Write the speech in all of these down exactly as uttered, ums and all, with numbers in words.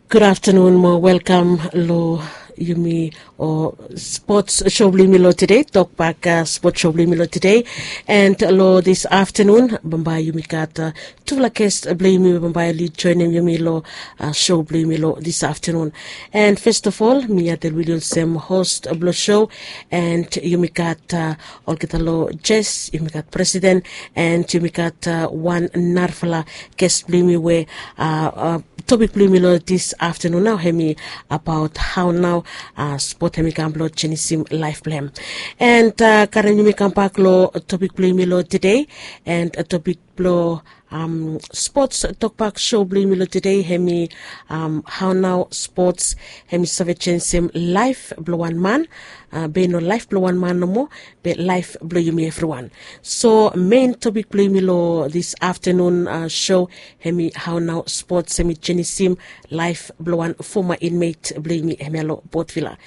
Gud aftenun mo welkam lo yumi o spots show blo yumi lo tede, tokbak spots show blo yumi lo tede. And lo this aftenun bambae yumi gat tufala guest blo yumi bambae oli joenem yumi lo show blo yumi lo this aftenun. And first of all mi atel wili olsem host blo show, and yumi gat olgeta lo jes yumi gat presiden, and yumi gat wan narafala guest blo yumi we topik blo yumi lo this aftenun nao hemi abaot hao nao spot hemi kam blo jenisim laef blo hem. And karem yumi kambak lo topik blo yumi lo tede, and topik blo spots tokbak show blo yumi lo tede hemi hao nao spots hemi save jenisim laef blo wan man, be no laef blo wan man nomo, be laef blo yumi evriwan. So mein topik blo yumi lo this aftenun show hemi hao nao spots hemi jenisim laef blo wan foma inmet blo yumi hemia lo Port Vila.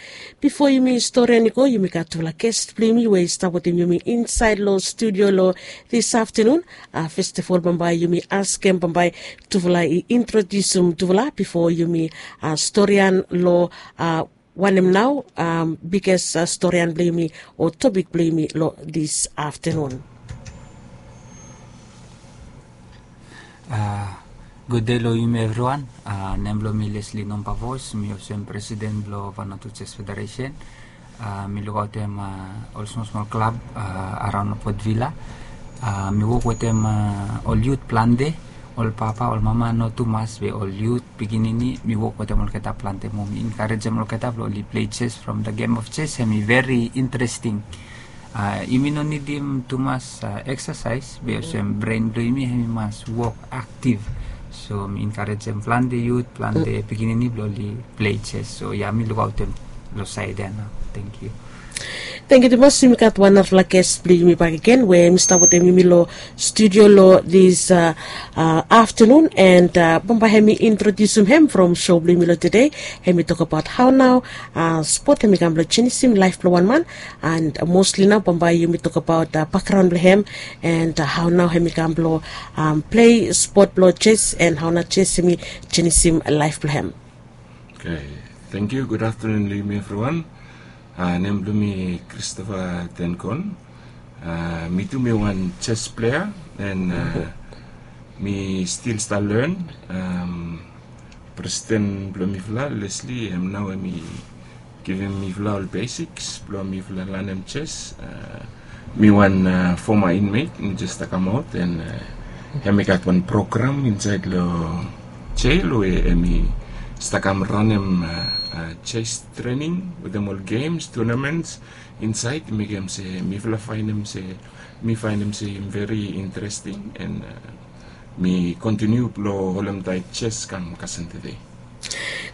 Bifo yumi storian i go, yumi gat tufala guest blo yumi we i stap wetem yumi insaed lo studio lo this aftenun. First of all bambae yumi askem bambae tufala i introdiusim tufala bifo yumi storian lo wanem nao biges storian blo yumi o topik blo yumi lo this aftenun. Gud dei lo yumi evriwan. Nem blo mi Leslie Nombavos, mi olsem presiden blo Vanuatu Jes Federesen. Mi lukaotem ol smol smol klab araon lo Port Vila. Mi wok wetem ol yut plante, ol papa, ol mama, no tumas be ol yut pikinini. Mi wok wetem olgeta plante mo mi enkarejem olgeta blo oli plei jes from the game of jes hemi veri interesting. Yumi no nidim tumas eksasaes be olsem bren blo yumi hemi mas wok aktiv. So mi enkarejem plante yut, plante pikinini blo oli plei jes. So ya mi lukaotem lo saed ya nao. Tangkiu. Tangkiu tumas. Yumi gat wan narafala ges blo yumi bakegen we hemi stap wetem yumi lo studio lo this aftenun, and bambae hemi introdiusim hem from show blo yumi lo tede. Hemi tokabaot hao nao spot hemi kam blo jenisim laef blo wan man. And mostli nao bambae yumi tokabaot bakgraon blo hem, and hao nao hemi kam blo plei spot blo jes, and hao nao jes hemi jenisim laef blo hem. Tangkiu. Gud aftenun lo yumi evriwan. Nem blo mi Christopher Tenkon. Mi tu mi wan jes plea, and mi stil stap len. Presiden blo mifala Leslie hem nao hemi givim mifala ol basiks blo mifala lanem jes. Mi wan foma inmet, mi jes stap kamaot, and hemi gat wan program insaed lo jel we hemi stap kam ranem jes trening wetem ol gems, tunaments insaed. Mekem se mifala faenem se, mi faenem se hem veri interesting, and mi kontiniu blo holem taet jes kam kasem tede.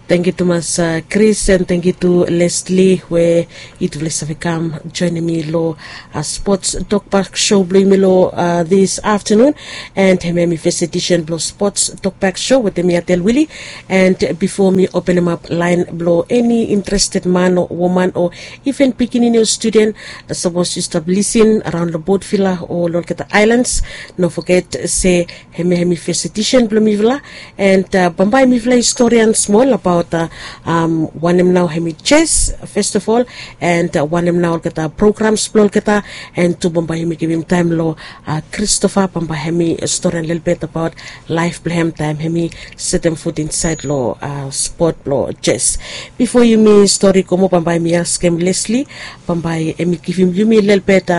Tangkiu tumas Chris, and tangkiu tu Leslie we yutufala i save kam joenem mi lo spots tokbak show blo yumi lo this aftenun. And hemia hemi fes edisen blo spots tokbak show wetem mi Atel Wili. And bifo mi openemap laen blo eni interested man o woman o iven pikinini o studen, sapos yu stap lisin araon lo Port Vila o lo olgeta aelans, no foget se hemia hemi fes edisen blo mifala. And bambae mifala i storian smol abaot wanem nao hemi jes, first of all, and wanem nao olgeta programs blo olgeta. And tu bambae yumi givim taem lo Christopher, bambae hemi storian lelebet abaot laef blo hem taem hemi setem fut insaed lo spot blo jes. Bifo yumi stori go moa, bambae mi askem Leslie bambae hemi givim yumi lelebet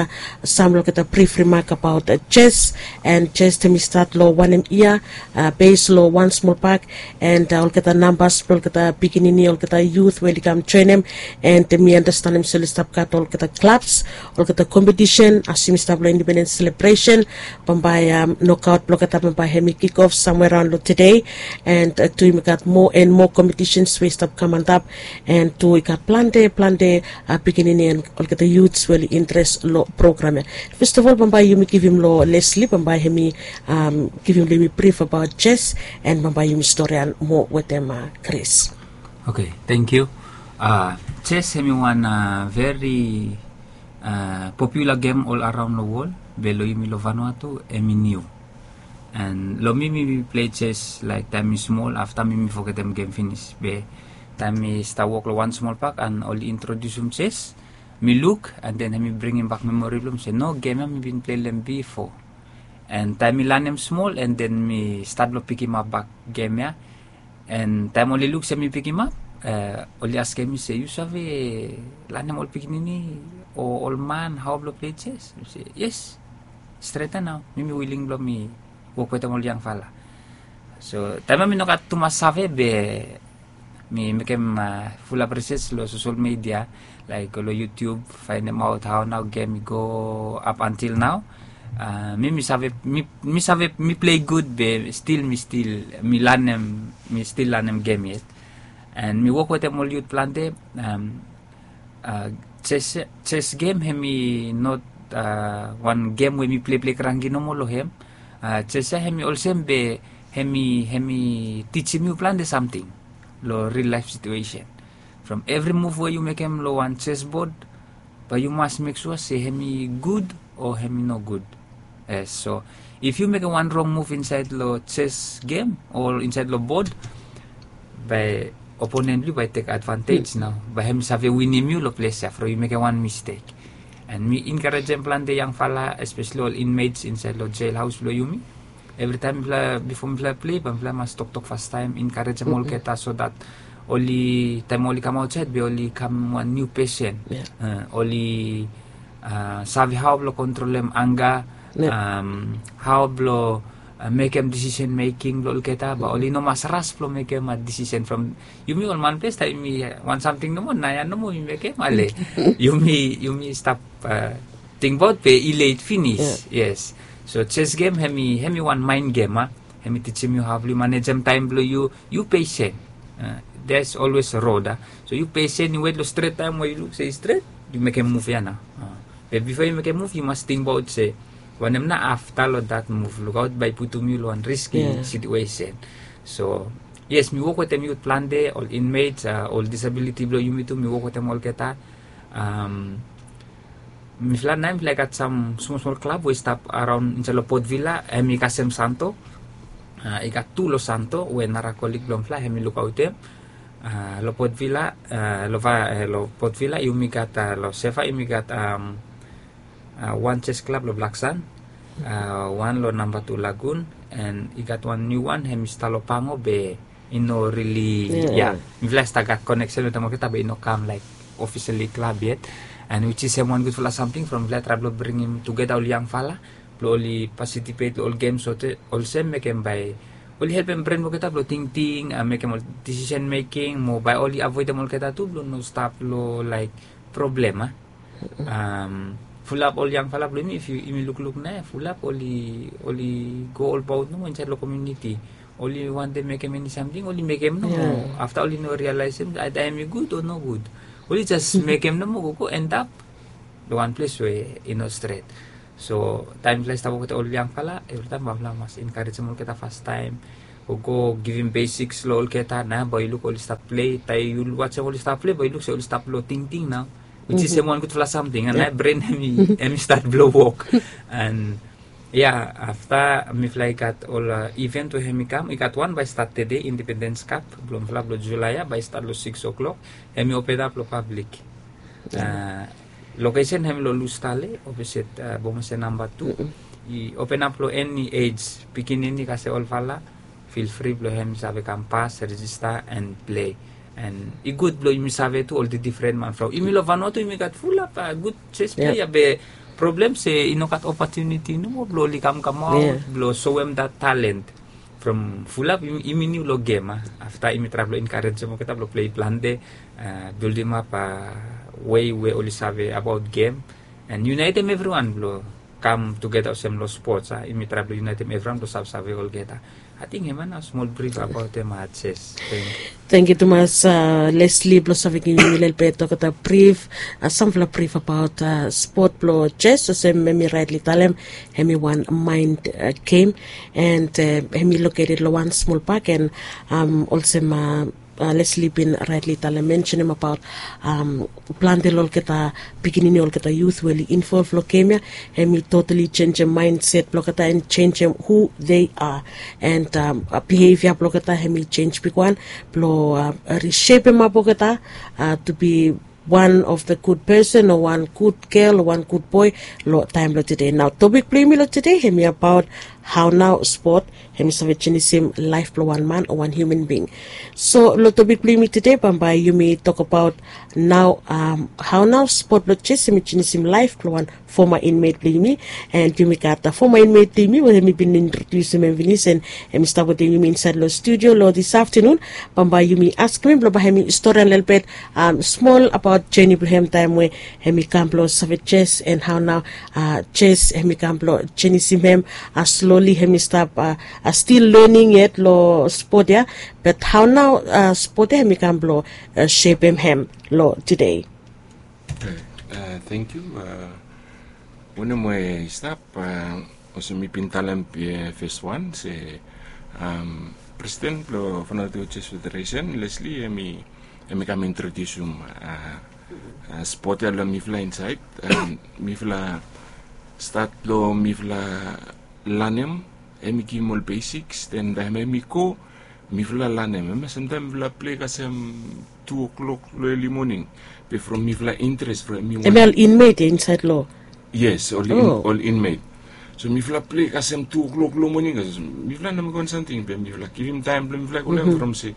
sam lo olgeta brif rimak abaot jes. And jes hemi stat lo wanem yia, bes lo wan smol bak, and olgeta nambas blo olgeta pikinini, olgeta yut we oli kam joenem. And mi anastenem se oli stap gat olgeta klabs, olgeta kompetisen as yumi stap lo independens selebresen. Bambae nokaot blo olgeta bambae hemi kikof samwe raon lo tede. And tu yumi gat moa and moa kompetisens we i stap kam antap. And tu i gat plante plante pikinini and olgeta yuts we oli interes lo program ya. First of all bambae yumi givim lo Leslie bambae hemi givim lo yumi brif abaot jes, and bambae yumi storian moa wetem Chris. Oke, tangkiu. Jes hemi wan veri popular gem ol araon lo wol, be lo yumi lo Vanuatu hemi niu. And long mi mi plei ches laik taim mi smol afta mi mi fogetem gem finis be taim mi stap wok long wan smol pak and oli introdiusim ches, mi luk and then hemi bringim bak memori blong mi se no gem ya mi bin plei long em bifo. And taim mi lanem smol and then mi stat long pikimap bak gem ya. And taim oli luk se mi pikimap, oli askem mi se yu save lanem ol pikinini o ol man hao blong plei ches? Mi se yes, stret ya nao mi mi wiling blong mi wok wetem ol yangfala. So taim ya mi no gat tumas save be mi mekem fulap risej long sosol media, laik go long yutub fainemaot hao nao gem i go ap antil nao. Mi mi save mi save mi plei gud be stil mi stil mi lanem mi stil lanem gem yet. And mi wok wetem ol yut plante. Ches gem hemi not wan gem we mi pleiplei kranki nomo long hem. Ches ya hemi olsem be hemi hemi tijim yu plante samting long ril laif situesen. From evri muv we yu mekem long wan ches bod bae yu mas mek sua se hemi gud o hemi no gud. Yes, so if yu mekem wan rong muv insaed long ches gem o insaed long bod, bae oponen blong yu bae i tek advantej nao bae hem save winim yu long ples ya from yu mekem wan mistek. And mi enkarejem plante yangfala espeseli ol inmates insaed long jel haos blong yumi. Evritaem mifala bifo mifala plei bae mifala mas toktok fastaem enkarejem olgeta so dat oli taem oli kam aotsaed be oli kam wan niu pesen. Oli save hao blong kontrolem anga, hao blong mekem disisen meking blong olgeta bae oli no mas ras blong mekem disisen from yumi ol manples taem yumi wan samting nomo naoia nomo yumi mekem ale yumi yumi stap tingbaot be i let finis. Yes. So ches gem hemi hemi wan maen gem a hemi tijim yu hao blong yu manejem taem blong yu yu pesen. There's always a road a. So yu pesen yu wet long stret taem we yu luk se i stret yu mekem muv ya nao. Be bifo yu mekem muv yu mas tingbaot se wanem nao afta long dat muv lukaot bae i putum yu long wan riski situesen. So yes mi wok wetem yut plante ol inmates ol disabiliti blong yumi tu mi wok wetem olgeta. Mifala nae mifala i gat sam smol smol klab we i stap araon insaed long potvila hem i kasem santo. I gat tu long santo we nara kolik blong mifala hem i lukaotem long potvila. Long potvila yumi gat long seva yumi gat wan ches klab long blaksan, wan long namba tu lagun, and i gat wan niu wan hem i stap long pango be i no rili ya. Mifala i stap gat koneksen wetem olgeta be i no kam laik ofiseli klab yet. And wiji sem wan gudfala samting from mifala i trae blong bringim tugeta ol yangfala blong oli pasitipet long ol gem sote olsem mekem bae oli helpem bren blong olgeta blong tingting mekem ol disisen meking mo bae oli avoedem olgeta tu blong no stap long laik problem a. Fulap ol yangfala blong yumi if yumi lukluk nao fulap oli oli go olbaot nomo insaed long komiuniti. Oli wantem mekem eni samting oli mekem nomo afta oli no rialaesem aeta hem i gud o nogud. Oli jes mekem nomo gogo endap long wan ples we i no stret. So taem mifala i stap wok wetem ol yangfala evritaem bae mifala mas enkarejem olgeta fastaem. Gogo givim besiks long olgeta nao bae yu luk oli stap plei taem yu wajem oli stap plei bae yu luk se oli stap long tingting nao. Wiji sem wan gudfala samting and ae bren hem i stat blong wok. And ya afta mifala i gat ol iven we hem i kam i gat wan bae i stat tede indipendens kap blong mifala blong julai ya bae i stat long siks o'klok. Hem i openap long pablik. Lokesen hem i long lustale opeset bomose namba tu. I openap long eni ej pikinini kasem olfala fil fri blong hem i save kam pas rejista and plei. And i gud blong yumi save tu ol difren man from yumi long vanua tu yumi gat fulap gud ches pleia be problem se i no gat opotuniti nomo blong oli kamkamaot blong soem dat talent. From fulap yumi niu long gem a afta yumi trae blong enkarejem olgeta blong plei plante, bildimap wei we oli save abaot gem and yunaetem evriwan blong kam tugeta olsem long spots a yumi trae blong yunaetem evriwan blong savesave olgeta. Ating hemia nao smol brif abaot em a jes. Tengkiu tumas. Lesli blong save givim yumi lelebet olgeta brif, sampela brif abaot spot blong jes olsem em i raetli talem em i wan mind gem. And em i loketed long wan smol pak and olsem Leslie bin raetli talem, mensenem abaot plante long olgeta pikinini, olgeta yut we oli involv long gem ya, hem i totali jenjem maenset blong olgeta an jenjem hu they are, an bihevia blong olgeta hem i jenj bigwan blong rishepemap olgeta to be one of the good person o wan good gel o wan good boe long taem blong tede. Nao topik blong yumi long tede hem i abaot hao nao spot hem i save jenisim laef blong wan man o wan human bing. So long topik blong yumi tede bambae yumi tokabaot nao hao nao spot blong jes hem i jenisim laef blong wan foma inmet blong yumi. An yumi gat foma inmet blong yumi we hem i bin introdiusim hem finis an hem i stap wetem yumi insaed long studio long dis aftenun. Bambae yumi askem hem blong bae hem i storian lelebet smol abaot jeni blong hem taem we hem i kam blong save jes an hao nao jes hem i kam blong jenisim hem. Sloli hem i stap stil lening yet long spot ya, bat hao nao spot ya hem i kam blong sepem hem long tede. Tengkiu. Wanem we i stap, olsem mi bin talem bifo, fes wan se presiden blong Vanuatu Chess Federation, Leslie, hem i kam introdiusim spot ya long mifala insaed. Mifala stat long mifala lanem, hem i givim ol basiks, den taem hem i go mifala lanem. Hem, samtaem mifala plei kasem tu o'klok long eli moning. Be from mifala interes from hem i wan. Hem ya ol inmet ya insaed long. Yes, ol inmet. So mifala plei kasem tu o'klok long moning kasem mifala no mekem wan samting be mifala givim taem blong mifala i go long hem from se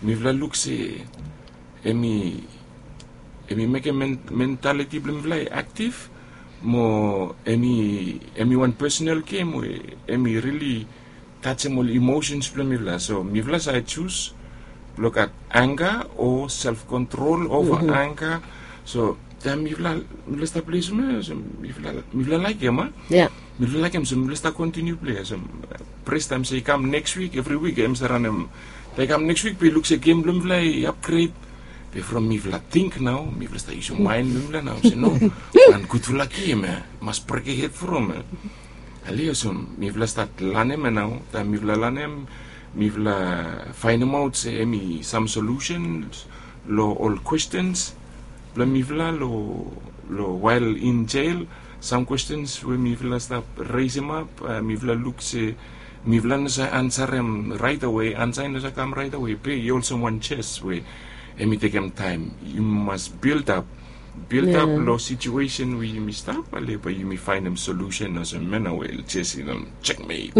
mifala luk se hem i mekem mentaliti blong mifala i aktiv mo hem i wan personal gem we hem i rili tajem ol imosens blong mifala. So mifala save jus blong gat angga o self kontrol ova angga. So taem mifala stap plei olsem ya, mifala laekem a. Mifala laekem so mifala stap kontiniu plei. So pres taem se i kam neks wik, evri wik hem save ranem. Taem i kam neks wik be i luk se gem blong mifala i apgred. Be from mifala ting nao mifala stap yusim maen blong mifala nao se no, wan gudfala gem ya mas brek hed from ya. Ale olsem mifala stat lanem ya nao. Taem mifala lanem mifala faenemaot se hem i sam solusens long ol kwestens blong mifala long wael in jel. Sam kwestens we mifala stap resemap, mifala luk se mifala no save ansarem raetawe, ansa i no save kam raetawe be i olsem wan jes we hem i tekem taem. Yumi mas bildap bildap long situesen we yumi stap ale bae yumi faenem solusen olsem mena we jes i no jekmet.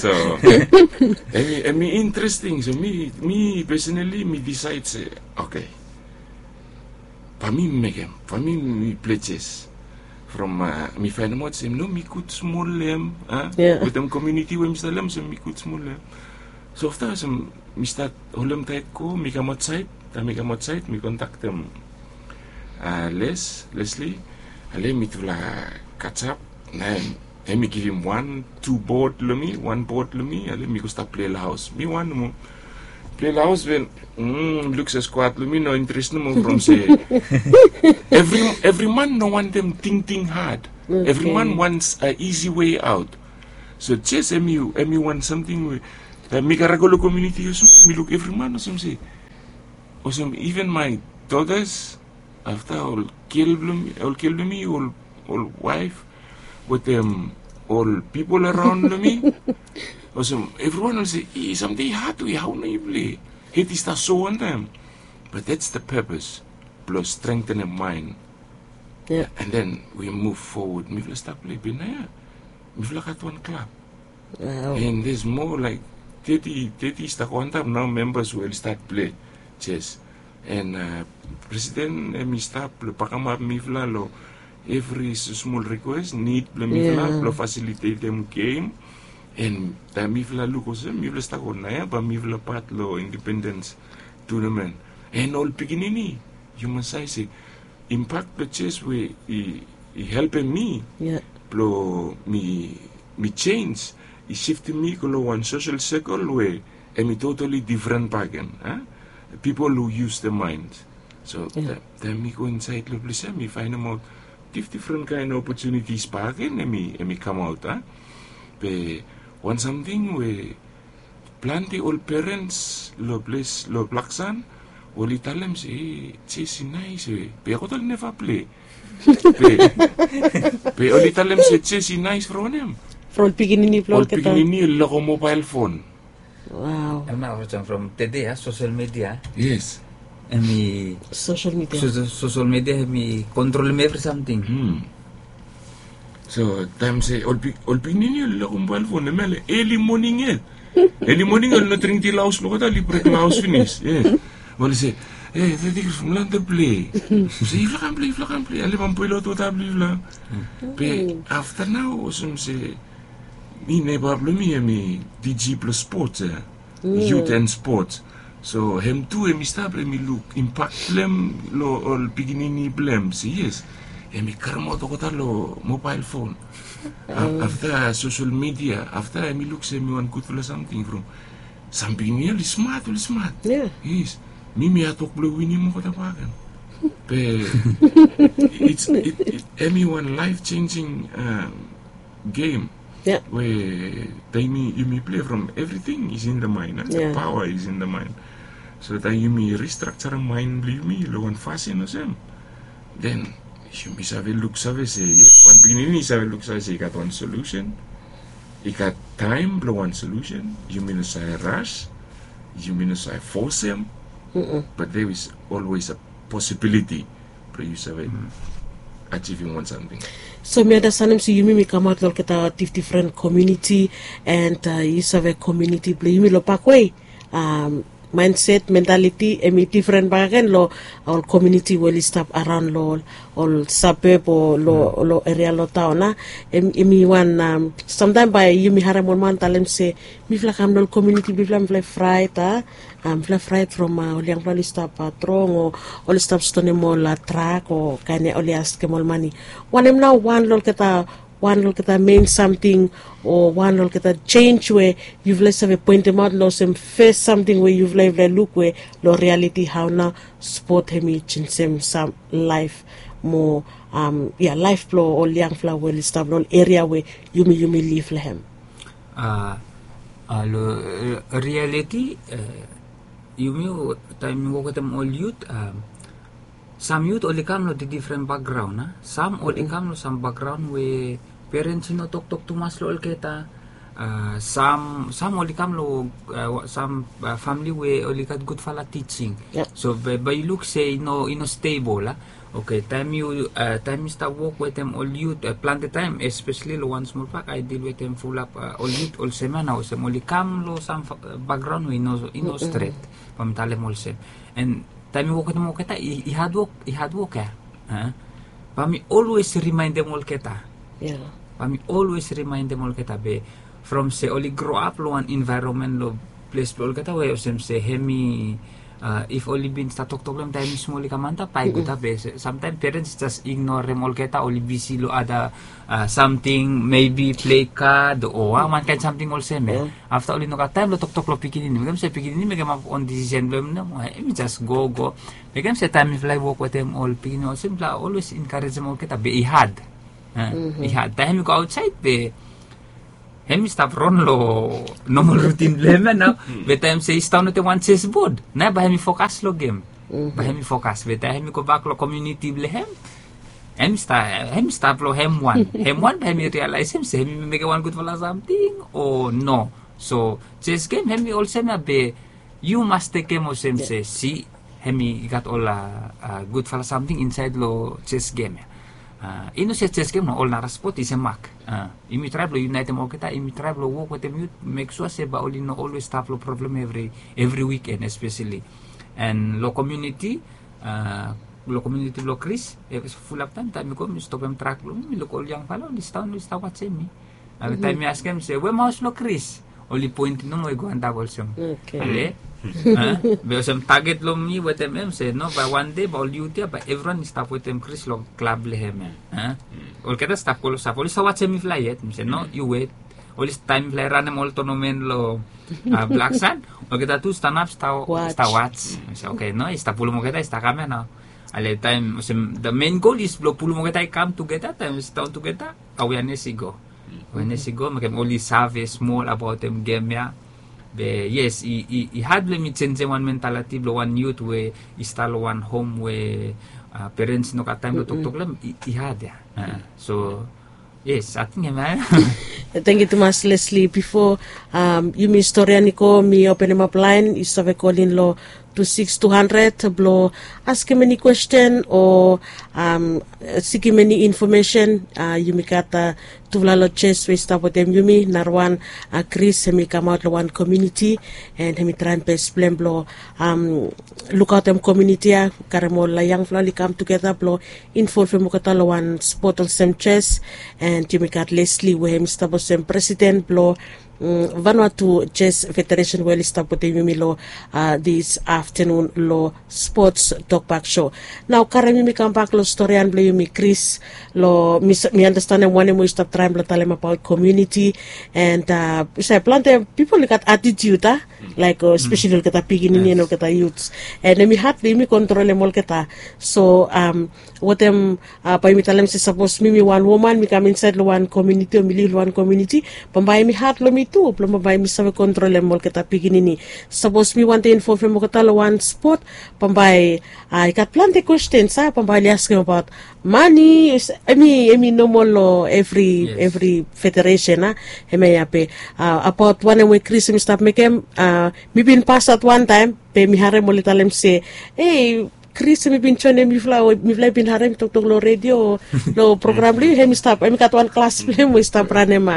So hem i interesting. So mi pesonali mi disaed se oke, bae mi mekem, bae mi plei jes. From mi faenemaot se no, mi gud smol long hem wetem komuniti we mi stap long hem, so mi gud smol long hem. So afta olsem mi stat holem taet go, mi kam aotsaed. Taem mi kam aotsaed mi kontaktem Les, Leslie. Ale mitufala kasap. Naoia hem i givim wan tu bod long mi, wan bod long mi. Ale mi go stap plei long haos, mi wan nomo. Plei long haos be mi luk se skuad long mi no interes nomo from se evri man no wantem tingting had. Evri man wants a isi wei aot. So jes hem i wan samting we taem mi kare go long komuniti olsem mi luk evri man olsem se, olsem iven mae dotas, afta ol gel blong mi, ol waef wetem ol pipol araon long mi, olsem evriwan oli se, i samting i had we hao nao yufala hed i stap so wantaem. But that's the purpose blong strengthenem maen. And then we move forward. Mifala stap plei be naoia mifala gat wan klab. And there's more like thirty, thirty i stap go antap nao membas we oli stat plei jes. And presiden hem i stap blong bakamap mifala long evri smol rikwes, nid blong mifala blong fasilitetem gem. And taem mifala luk olsem mifala stap go naoia bae mifala pat long independens tunamen. And ol pikinini, yu mas save se impak blong jes we i helpem mi blong mi jenis i siftem mi go long wan sosel sekel we hem i totali difren bakegen. Pipol hu yus dem maen. So taem mi go insaed long ples ya mi faenemaot difdifren kaen opotunitis bakegen hem i kamaot. Be wan samting we Plante ol perens long ples long Blaksan oli talem se, e, jes i nais we be olgeta oli neva ple. Be, be oli talem se jes i nais from wanem? From ol pikinini blong olgeta. Ol pikinini oli lako mobael fon. Wow. Em nao olsem from tede ya, sosel media. Yes. Hemi sosel media. Sosel media hemi kontrolem evri samting. So taem se ol pikinini oli lako mobael fon, hemia long eli moning ya. Eli moning oli no dring ti long haos blong olgeta, oli brek long haos finis. Oli se, e, Tedi Kris, mifala wan tok ple. Se yufala kam ple, yufala kam ple, ale bamboe long wota blong yufala. Be afta nao olsem se mi, neba blong mi hemi D G blong spots ya. Youth and sports. So hem tu hemi stap, hemi luk impak blong hem long ol pikinini blong hem. Se yes, hemi karemaot olgeta long mobael fon. Afta sosel media, afta hemi luk se hemi wan gudfala samting from sam pikinini oli smat, oli smat. Yes. Mi, mi hatwok blong winim olgeta bakegen. Be hemi wan laef jenjing gem we taem yumi ple from evriting is in the mind, the power is in the mind. So taem yumi ristrakjarem maen blong yumi long wan fasin olsem, den yumi save luksave se yes, wan pikinini i save luksave se i gat wan solusen. I gat taem blong wan solusen. Yumi no save ras, yumi no save fosem. But there is always a possibility blong yu save ajivim wan samting. So mi anastanem se yumi mi kamaot long olgeta difdifren komuniti, and yu save komuniti blong yumi long bakwe, maenset, mentaliti hemi difren bakegen long ol komuniti we oli stap araon long ol sabeb o long eria long taon a. Hemi wan, samtaem bae yumi harem ol man talem se mifala kam long ol komuniti blong yufala, mifala i fraet a, mifala i fraet from ol yangfala oli stap trong o oli stap stonem ol trak o kaen ya, oli askem ol mane. Wanem nao wan long olgeta, wan long olgeta mein samting o wan long olgeta jenj we yufala i save poentemaot long olsem fes samting we yufala, yufala i luk we long rialiti hao nao spot hemi jenjem sam laef mo, ya, laef blong ol yangfala we oli stap long ol eria we yumi, yumi liv long hem? A, long rialiti, yumi, taem mi wok wetem ol yut, sam yut oli kam long difdifren bakgraon a. Sam oli kam long sam bakgraon we perens i no toktok tumas long olgeta. Sam, sam oli kam long sam famle we oli gat gudfala tijing. So bae yu luk se i no, i no stebol a. Oke, taem yu, taem mi stap wok wetem ol yut, plante taem, espeseli long wan smol pak, ae dil wetem fulap ol yut olsem ya nao, olsem oli kam long sam bakgraon we i no, i no stret. Bae mi talem olsem. And taem mi wok wetem olgeta, i hadwok, i hadwok ya. Bae mi olwes rimaendem olgeta. Bae mi olwes rimaendem olgeta be from se oli groap long wan envaeronmen long ples blong olgeta we olsem se hemi, if oli bin stap toktok long hem taem hemi smol i kam antap, bae i gud a. Be samtaem perens i jes ignorem olgeta, oli bisi long ada samting, maybe play card o wan kaen samting olsem ya. Afta oli no gat taem blong toktok long pikinini, mekem se pikinini mekemap on disisen blong hem nao, hemi jes go, go. Mekem se taem mifala i wok wetem ol pikinini olsem, mifala olwes enkarejem olgeta be i had. I had. Taem hemi go aotsaed be hemi stap ron long nomol rutin blong hem ya nao. Be taem se i sidaon wetem wan chessboard, nao bae hemi fokas long gem. Bae hemi fokas. Be taem hemi gobak long komuniti blong hem, hemi stap, hemi stap long hem wan. Hem wan bae hemi rialaesem se hemi mekem wan gudfala samting o no. So chess gem hemi olsem ya be yu mas tekem olsem se, si, hemi gat ol gudfala samting insaed long chess gem ya. I no se chess gem, no, ol nara spot i semak. Yumi trae blong yunaetem olgeta, yumi trae blong wok wetem yut, mek sua se bae oli no olwes stap long problem evri, evri wiken espeseli. And long komuniti, long komuniti blong Kris, fulap taem, taem mi go mi stopem trak blong mi, mi luk ol yangfala oli sidaon, oli stap wajem mi. Taem mi askem se we hem haos blong Kris, oli poentem nomo i go antap olsem. Ale, be olsem taget blong mi wetem hem se no, bae wan dei bae ol yut ya bae evriwan i stap wetem Kris long klab blong hem ya. Olgeta stap klosap, oli stap wajem mifala yet. Mi se no, yu wet. Oli, taem mifala i ranem ol tonamen long Blaksan, olgeta tu stanap stap waj. Mi se oke, no, i stap pulum olgeta i stap kam ya nao. Ale taem olsem the main goal is blong pulum olgeta i kam tugeta, taem i sidaon tugeta, aweanes i go. Aweanes i go, mekem oli save smol abaotem gem ya. Be yes, i had blong mi jenjem wan mentaliti blong wan yut we i stap long wan hom we perens i no gat taem blong toktok long hem, i had ya. So yes, ating em ya. Tangkiu tumas Lesli. Bifo yumi storian i go, mi openemap laen yu save kolin long tu siks tu handred blong askem eni kwesten o sikim eni infomesen. Yumi gat tufala long jes we i stap wetem yumi. Narawan, Kris, hem i kamaot long wan komuniti, en hem i traem bes blong hem blong lukaotem komuniti ya, karem ol yangfala oli kam tugeta blong involvem olgeta long wan spot olsem jes. En yumi gat Lesli we hem i stap olsem presiden blong Vanuatu Jes Federesen we oli stap wetem yumi long dis aftenun long Spots Tokbak Sho. Nao karem yumi kambak long storian blong yumi, Kris, long mi andastanem wanem we yu stap traem blong talem abaot komuniti. En yu save plante pipol i gat atitiut a, laek spesali olgeta pikinini en olgeta yuts. En hem i had blong yumi kontrolem olgeta. So wetem bae yumi talem se sapos mi mi wan woman, mi kam insaed long wan komuniti o mi liv long wan komuniti, bambae hem i had long mi tu blong bambae mi save kontrolem olgeta pikinini. Sapos mi wantem involvem olgeta long wan spot, bambae i gat plante kwestens a, bambae oli askem abaot mane. Hem i, hem i nomol long evri federesen a. Hemia ya be abaot wanem we Kris hem i stap mekem. Mi bin pasat wantaem be mi harem oli talem se, ei, Kris, mi bin joenem yufala, mifala i bin harem toktok long redio, long program blong yu, hem i stap, hem i gat wan klas blong hem we i stap ranem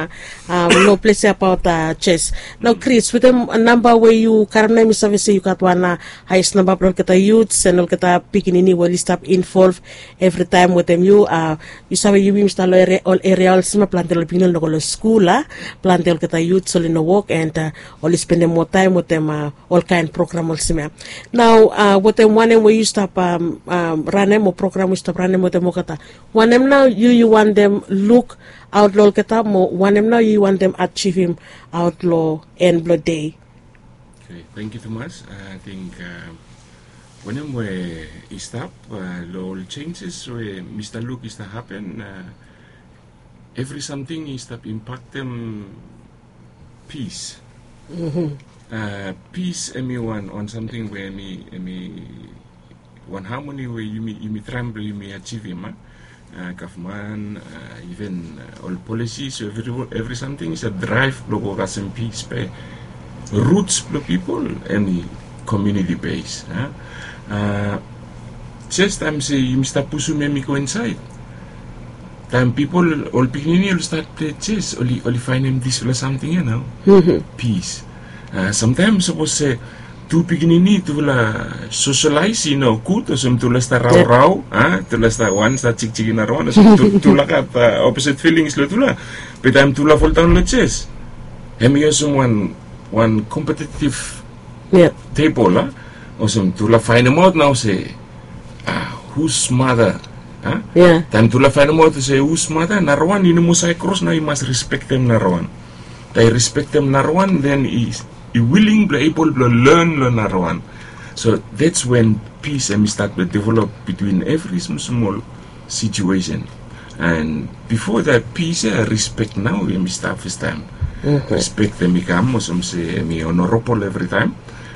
long ples ya abaot jes. Nao Kris, wetem namba we yu karem nao, mi save se yu gat wan haes namba blong olgeta yuts en olgeta pikinini we oli stap involv evritaem wetem yu. Yu save yumi mi stap long ol eria olsem ya, plante long pikinini oli no go long skul a, plante olgeta yuts oli no wok, en oli spendem moa taem wetem olkaen program olsem ya. Nao wetem wanem we yu stap ranem o program we yu stap ranem wetem olgeta, wanem nao yu yu wantem lukaot long olgeta mo wanem nao yu yu wantem ajivim aot long en blong dei? Tangkiu tumas. Ating wanem we i stap long ol jenjes we mi stap luk i stap hapen, evri samting i stap impaktem pis. Pis hem i wan, wan samting we hem i, hem i wan hamoni we yumi, yumi traem blong yumi ajivim a. Gavman, iven ol polisis, evri, evri samting i save draev blong go kasem pis, be ruts blong pipol hem i komuniti bes. Jes taem se yumi stap pusum hem i go insaed, taem pipol, ol pikinini oli stat plei jes, oli, oli faenem disfala samting ya nao, pis. Samtaem sapos se tu pikinini tufala soselaes i no gud, olsem tufala stap raorao, tufala stap, wan stap jikjik long narawan, olsem tufala gat oposit filings long tufala. Be taem tufala foldaon long jes, hem i olsem wan, wan kompetitiv tebol a, olsem tufala faenemaot nao se hus mata. Taem tufala faenemaot se hus mata, narawan i no moa save kros, nao i mas respektem narawan. Taem i respektem narawan, den i, i wiling blong ebol blong len long narawan. So that's when pis hem i stat blong develop bitwin evri smol smol situesen. And bifo dat, pis ya, respek nao hem i stap fastaem. Respek hem i kam olsem se hem i onorabol evritaem.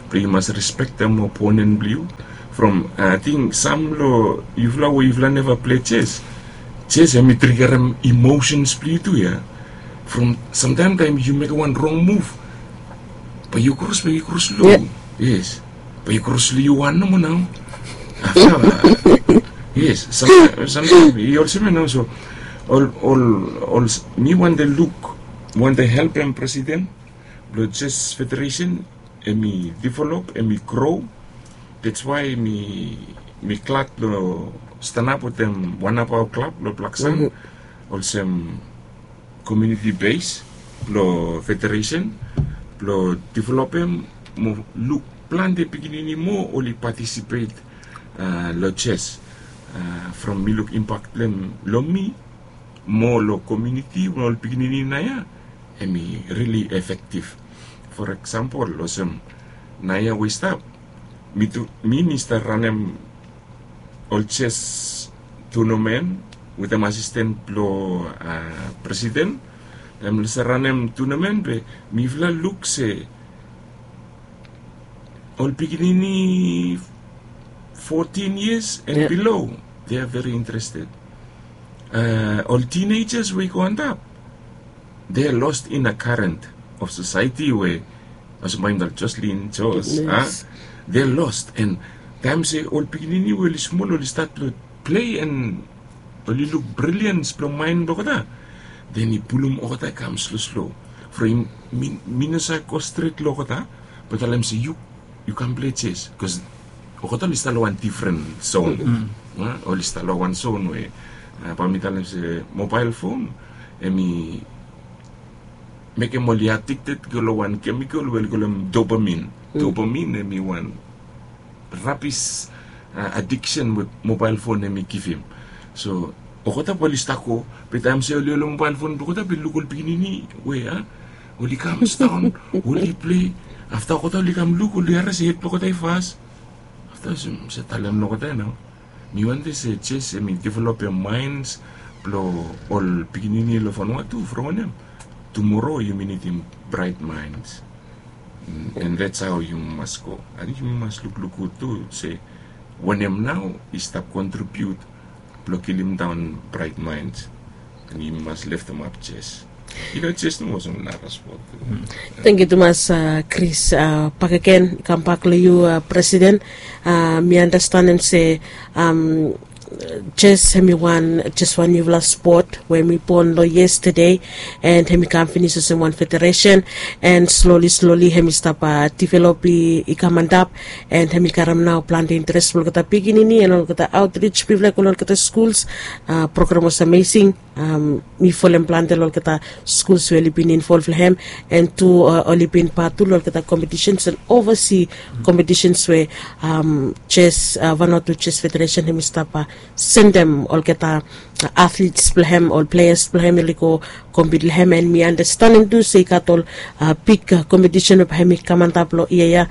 Be yu mas respektem oponen blong yu. From, ating sam long yufala we yufala neva plei jes, jes hem i trigerem emosens blong yu tu ya. From samtaem taem yu mekem wan rong muv, bae yu kros, bae yu kros long, yes, bae yu kros long yu wan nomo nao. Afta, yes, samtaem, samtaem i olsem ya nao. So ol, ol, ol, mi wantem luk, wantem helpem presiden blong jes federesen, hem i develop, hem i gro. That's why mi, mi glad blong stanap wetem wan namba klab blong Blaksand olsem komuniti bes blong federesen blong developem mo luk plante pikinini moa oli patisipet long jes. From mi luk impak blong hem long mi mo long komuniti mo ol pikinini naoia, hem i rili efektif. For eksampol, olsem naoia we i stap, mi tu, mi mi stap ranem ol jes tunamen wetem asisten blong presiden. Hem i stap ranem tunamen be mifala luk se ol pikinini fourteen years and below, they are very interested. Ol teenagers we i go antap, they are lost in a current of society we, olsem bae mi talem, Jocelyn, Jos, a, they are lost. And taem se ol pikinini we oli smol oli stat blong plei and oli luk brilians blong maen blong olgeta, then i pulum olgeta i kam sloslo. From mi no save go stret long olgeta, bae mi talem se yu yu kam plei jes, bikos olgeta oli stap long wan difren zon. Oli stap long wan zon we, bae mi talem se mobael fon hemi mekem oli adikted go long wan kemikol we oli kolem dopamin. Dopamin hemi wan rabis adiksen we mobael fon hemi givim. So olgeta bae oli stap go, be taem se oli ol mobael fon blong olgeta be luk ol pikinini we, a, oli kam sidaon, oli plei. Afta olgeta oli kam luk, oli harim se hed blong olgeta i fas. Afta mi save talem long olgeta nao, mi wantem se jes hemi developem maens blong ol pikinini long Vanuatu, from wanem, tumoro yumi nidim braet maens. And that's how yumi mas go. Ating yumi mas lukluk gud tu se wanem nao i stap kontribiut blong kilimdaon braet maens. And yumi mas leftemap jes. I no jes nomo, olsem nara spot. Tangkiu tumas, Kris. Bakegen, kambak long yu, Presiden. Mi andastanem se jes hemi wan, jes wan niufala spot we hemi bon long yestede, and hemi kam finis olsem wan federesen, and sloli sloli hemi stap divelop i kam antap, and hemi karem nao plante interes blong olgeta pikinini and olgeta aotrij blong yufala i go long olgeta skuls. Program was amazing. Mi folem plante long olgeta skuls we oli bin involv long hem, and tu oli bin pat tu long olgeta kompetisens and ovasi kompetisens we jes Vanuatu Jes Federesen hemi stap sendem olgeta atlits blong hem, ol pleas blong hem oli go kompit long hem. And mi andastanem tu se i gat ol bik kompetisen we bae hemi kam antap long yia ya.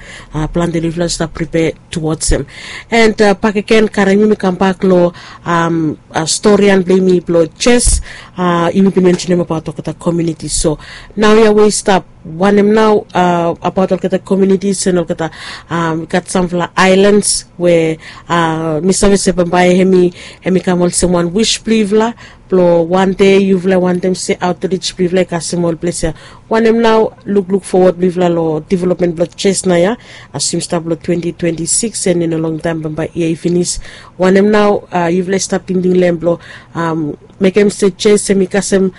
Plante long yufala oli stap pripea tuwods hem. And bakegen, karem yumi kambak long storian blong yumi blong jes. Yumi bin mensenem abaot olgeta komiuniti. So naoia we i stap, wanem nao abaot olgeta komiunitis and olgeta, i gat samfala aelans we mi save se bambae hemi kam olsem wan wis blong yufala, blong wan dei yufala wantem se aotrij blong yufala i kasem ol ples ya. Wanem nao lukluk fowod blong yufala long developmen blong jes naoia, as yumi stap long twenti twenti sikis, and i no longtaem bambae yia i finis. Wanem nao yufala i stap tingting long hem blong mekem se jes hemi kasem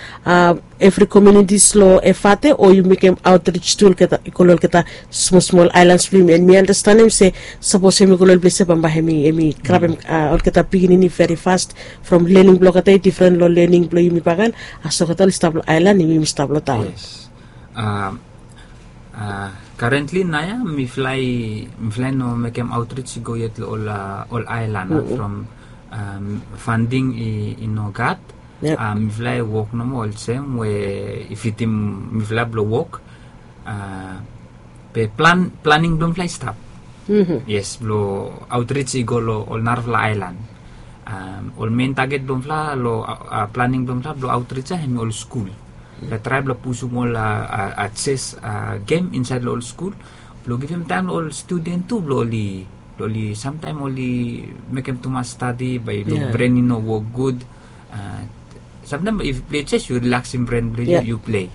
evri komiunitis long Efate, o yu mekem aotrij tu olgeta, i go long olgeta smol smol aelans blong yumi? And mi andastanem se sapos hemi go long ol ples ya, bambae hemi, hemi grabem olgeta pikinini veri fas, from lening blong olgeta i difren long lening blong yumi bakegen, as olgeta oli stap long aelan, yumi stap long taon. Karentli naoia mifala i, mifala i no mekem aotrij i go yet long ol, ol aelan, from fanding i no gat. Mifala i wok nomo olsem we i fitim mifala blong wok. Be plan, planing blong mifala i stap. Yes, blong aotrij i go long ol narafala aelan. Ol men taget blong mifala long planing blong mifala blong aotrij ya hemi ol skul. Mifala i traem blong pusum ol jes gem insaed long ol skul blong givim taem long ol studen tu blong oli, blong oli, samtaem oli mekem tumas stadi bae long bren i no wok gud. Samtaem if yu plei jes yu rilaksim bren blong yu, yu plei.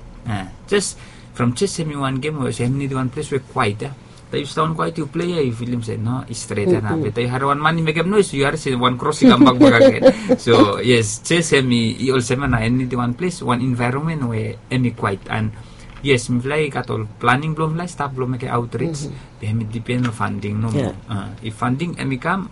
Jes, from jes hemi wan gem we olsem hemi nidim wan ples we kwaet ya. Taem yu sidaon kwaet yu plei ya yu filim se no, i stret ya nao. Be taem yu harem wan man i mekem noes yu harem se wan kros i kambak bakegen. So yes, jes hemi, i olsem ya nao, hemi nidim wan ples, wan envaeronmen we hemi kwaet. And yes, mifala i gat ol planing blong mifala i stap blong mekem aotrij. Be hemi dipen long fanding nomo. If fanding hemi kam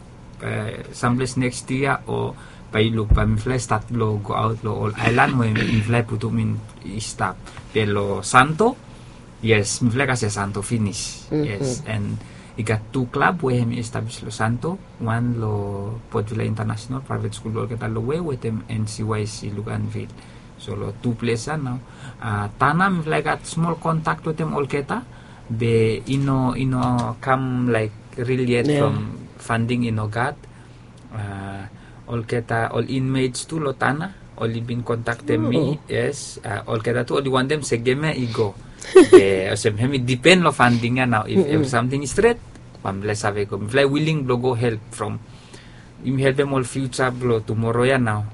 samples neks yia o bae yu luk bae mifala i stat blong goaot long ol aelan we mifala i putum i stap. Be long Santo, yes, mifala i kasem Santo finis. Yes, and i gat tu klab we hemi establis long Santo, wan long Port Vila International Private School blong olgeta lowe wetem N C Y C Luganville. So long tu ples ya nao. Tana mifala i gat smol kontak wetem olgeta, be i no, i no kam laek ril yet from fanding i no gat. Olgeta ol inmates tu long Tana oli bin kontaktem mi. Yes, olgeta tu oli wantem se gem ya i go. Be olsem hemi dipen long fanding ya nao, if evri samting i stret, Ba mifala i save go, mifala i wiling blong go help from yumi helpem ol fiuja blong tumoro ya nao.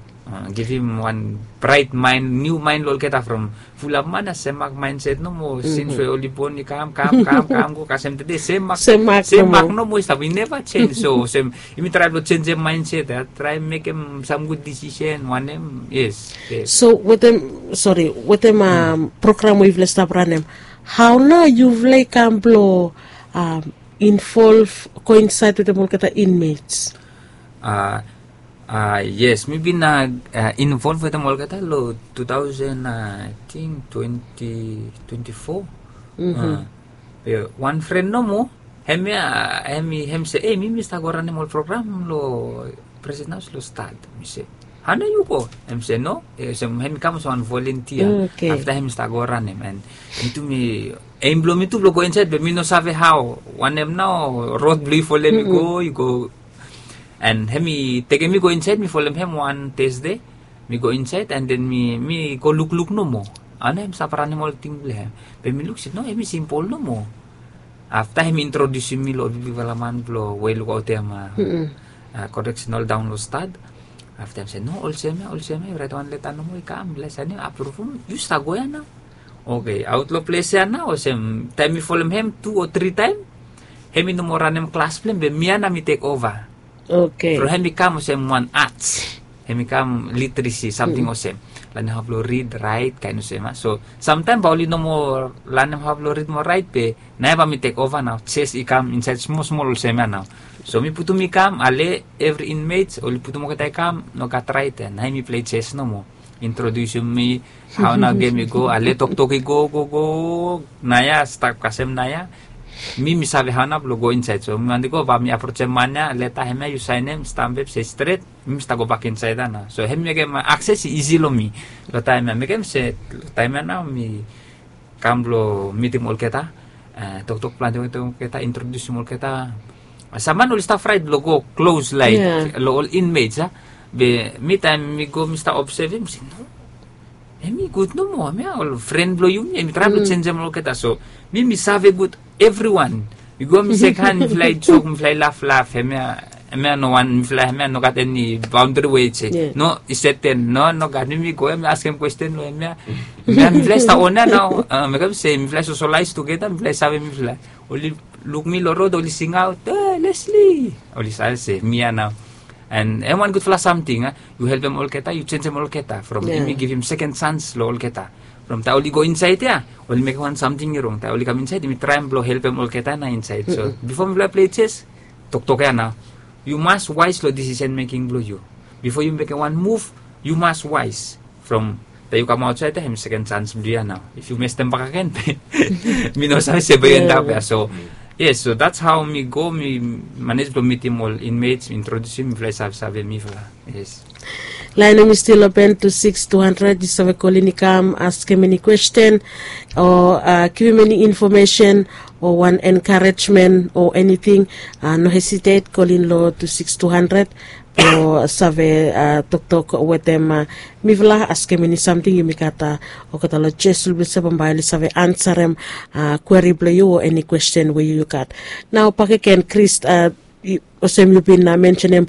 Givim wan brait main, niu main long olgeta from fulap man ya sem mak main set nomo sins we oli bon i kam kam kam kam go kasem tede sem mak sem mak nomo i stap i neva jenj. So sem yumi trae blong jenjem main set ya trae mekem sam gud disisen wanem yes. So wetem sori wetem program we yufala i stap ranem, hao nao yufala i kam blong involv go insaed wetem olgeta inmates? Yes, mi bin involv wetem olgeta long two thousand i ting twenty twenty four. Wan fren nomo hemia, hemi hem se ei mi mi stap go ranem ol program long president haus long stad. Mi se hao nao yu go? Hem se no, hemi kam olsem wan volentia. Afta hemi stap go ranem and mi tu mi eim blong mi tu blong go insaed be mi no save hao wanem nao rod blong yu folem i go i go. And hemi tekem mi go insaed mi folem hem wan tesde. Mi go insaed and then mi mi go lukluk nomo. Hao nao hem stap ranem ol ting blong hem? Be mi luk se no hemi simpol nomo. Afta hemi introdiusim mi long ol bigbigfala man blong we i lukaotem koreksenal daon long stad. Afta hem se no olsem ya olsem ya yu raet wan leta nomo i kam mifala i saenem apruvum yu stap go ya nao. Oke aot long ples ya nao olsem taem mi folem hem tu o tri taem hem i no moa ranem klas blong hem be mi ya nao mi tek ova. From hem i kam olsem wan ats hem i kam literesi samting olsem lanem hao blong rid raet kaen olsem ya. So samtaem bae oli no moa lanem hao blong rid moa raet be nao ya bae mi tek ova nao jes i kam insaed smol smol olsem ya nao. So mi putum i kam ale evri inmets oli putum olgeta i kam no gat raet ya nao hem i plei jes nomo. Introdiusim mi hao nao gem i go ale toktok i go go go. Nao ya stap kasem nao ya mi mi save hao nao blong go insaed so mi wante go bae mi aprojem man ya leta hemia yu saenem stam bep se stret. Mi mi stap gobak insaed ya nao so hem mekem akses i isi long mi. Long taem ya mekem se long taem ya nao mi kam blong mitim olgeta. Toktok plante wetem olgeta introdiusim olgeta. Sam man oli stap fraet blong go klos laik long ol inmets ya. Be mi taem mi go mi stap obsevim se no, hemi gud nomo hemia ol fren blong yumi hemi traem blong jenjem olgeta so mi mi save gud evriwan. Mi go mi sekhan mifala i jok mifala i laflaf hemia hemia no wan mifala hemia no gat eni baondri we i se no i seten no no gat mi mi go hemia askem kwesten long hemia. Hemia mifala i stap on ya nao mekem se mifala i sosolaes tugeta mifala i save mifala. Oli luk mi long rod oli singaot e lesli. Oli save se mi ya nao. And hem wan gudfala samting a yu helpem olgeta yu jenjem olgeta from yumi givim seken sans long olgeta. From taem oli go insaed ya oli mekem wan samting i rong taem oli kam insaed yumi traem blong helpem olgeta na insaed so bifo mifala plei jes toktok ya nao. Yu mas waes long disisen meking blong yu. Bifo yu mekem wan muv yu mas waes. From taem yu kam aotsaed ya hem seken sans blong yu ya nao. If yu mestem bakagen mi no save se bae yu endap ya so. Yes so dats hao mi go mi manej blong mitim ol inmets mi introdiusim mifala i savesave mifala. Yes. Laen hem i stil open tu siks tu handred yu save kolin i kam askem eni kwesten o givim eni infomesen o wan enkarejmen o eniting. No hesitet kolin long tu siks tu handred blong save toktok wetem mifala askem eni samting yumi gat. Olgeta long jes blong yu se bambae oli save ansarem kweri blong yu o eni kwesten we yu gat. Nao bakegen kris olsem yu bin mensenem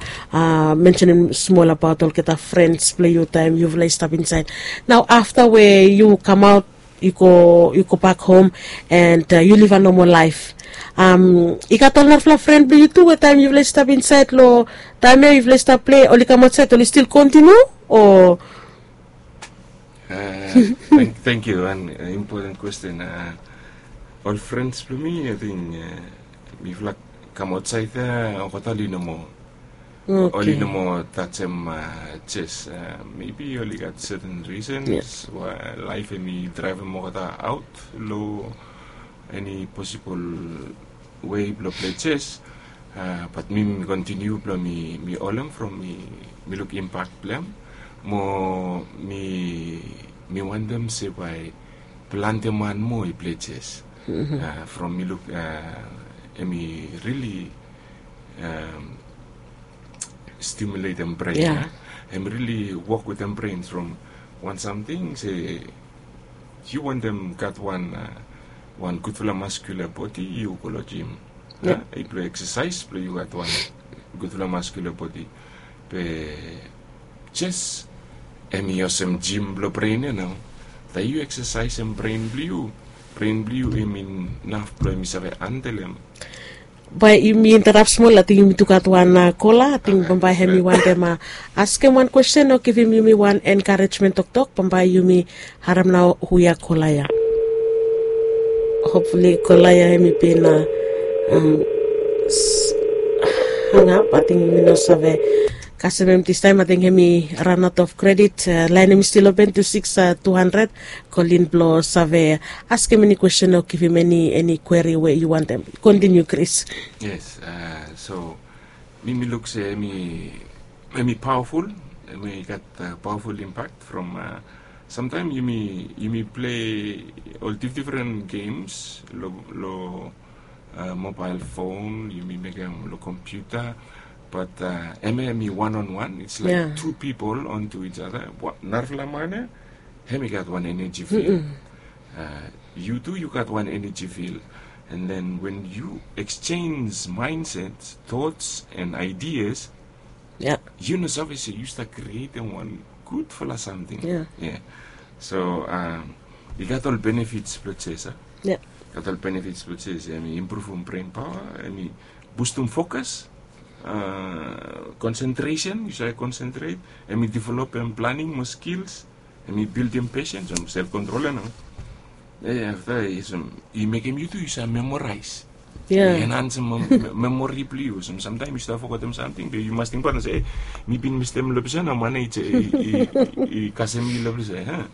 mensenem smol abaot olgeta frens blong yu taem yufala i stap insaed. Nao afta we yu kamaot yu go yu go bak hom and yu liv a nomo laef. I gat ol narafala fren blong yu tu we taem yufala i stap insaed long taem ya yufala i stap plei oli kam aotsaed oli stil kontiniu o? Thank you an impoten kwesten. Ol frens blong mi ating mifala kam aotsaed ya olgeta oli no moa oli no moa tajem jes. Mebi oli gat seten risens we laef hem i draevem olgeta aot long eni posibol wei blong plei jes. Bat mi mi kontiniu blong mi mi holem from mi mi luk impak blong hem mo mi mi wantem se bae plante man moa i plei jes. From mi luk hem i rili stimuletem bren ya. Hem rili wok wetem bren from wan samting se yu wantem gat wan wan gudfala maskula bodi yu go long jim. I blong eksesais blong yu gat wan gudfala maskula bodi. Be jes em i olsem jim blong bren ya nao. Taem yu eksesaisim bren blong yu, bren blong yu em inaf blong em i save handel em. Bae yumi interap smol, ating yumi tu gat wan kola, ating bambae hem i wantem askem wan kwesten o givim yumi wan enkarejmen toktok. Bambae yumi harem nao hu ya kola ya. Hopfuli kola ya hem i bin hangap, ating yumi no save kasem hem distaem. Ating hem i ran aot of kredit. Laen hem i stil open tu siks tu handred. Kolin blong save askem eni kwesten o givim eni eni kweri we yu wantem. Kontiniu Kris. Yes. So mi mi luk se em i em i pawaful. Em i gat pawaful impak from samtaem yumi yumi plei ol difdifren gems long long mobael fon, yumi mekem long kompiuta. Bat em em i wan on wan, it's like tu pipol on tu each other. Narafala man ya hem i gat wan eneji fil. Yu tu yu gat wan eneji fil. And then wen yu eksenj maenset, tots and aidias, yu no save se yu stap krietem wan gudfala samting. So i gat ol benefits blong jes a gat ol benefits blong jes. Em i impruvum bren paoa, em i bustum fokas, konsentresen, yu save konsentret. Em i developem planing mo skils. Em i bildim pesens, em self kontrol ya nao. Afta i mekem yu tu yu save memoraes. I enhansem memori blong yu. Olsem samtaem yu stap fogetem samting be yu mas tingbaot se mi bin mistem long ples ya nao, man ya i kasem mi long ples ya.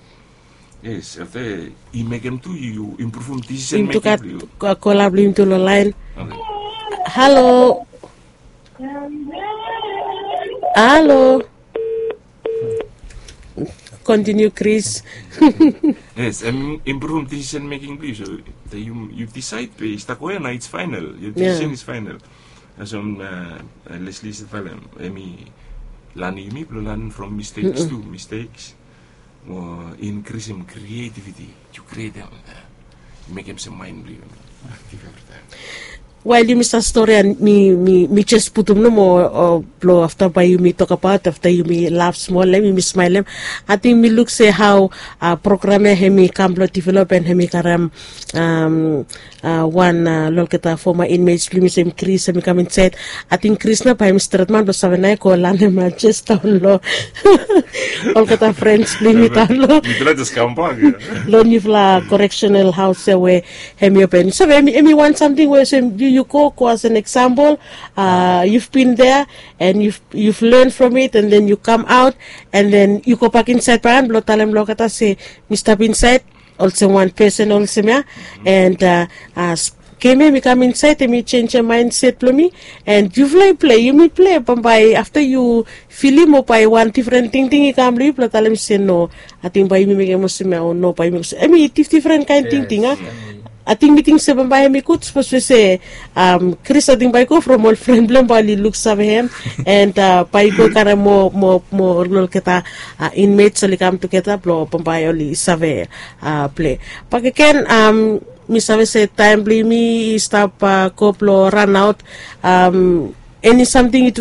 Yes, afta i mekem tu yu impruvum disisen meking blong yu. Kola blong yumi tu long laen. Halo. Halo. Kontiniu Kris. Yes, em impruvum disisen meking blong yu. So yu disaed be i stap go ya nao, it's final. Your decision is final. Olsem Lesli i save talem, em i lanem yumi blong lanem from mistakes tu mistakes. Mo inkrisim krietiviti. Yu krietem, yu mekem se maen blong yu aktiv evritaem. Wael yumi stap stori ya mi mi mi jes putum nomo blong afta bae yumi tokbaot, afta yumi laf smol, em yumi smaelem. Ating mi luk se hao program ya hem i kam blong develop and hem i karem wan long olgeta foma inmates blong yumi, se hem Kris hem i kam insaed. Ating Kris nao bae hem i stret man blong save nao i go lanem jes daon long olgeta frens blong yumi daon long long niufala correctional haos ya we hem i open. Save em i wan samting we olsem yu go go as an example, you've been there and you've you've learned from it and then you come out and then yu gobak insaed bae blong talem long olgeta se mi stap insaed olsem wan pesen olsem ya. And gem ya mi kam insaed, em i senjem maenset blong mi. And yufala i plei, yumi plei, bambae afta yu filim o bae wan difren tingting i kam long yu blong talem se no, ating bae yumi mekem olsem ya o no, bae yumi olsem, em i difdifren kaen tingting a. Ating mi ting se bambae em i gud sapos we se Kris ating bae i go from ol fren blong hem bae oli luksave hem. And bae i go karem moa moa moa olgeta inmates oli kam tugeta blong bambae oli save plei. Bakegen, mi save se taem blong yumi i stap go blong ranaot. Eni samting yu tu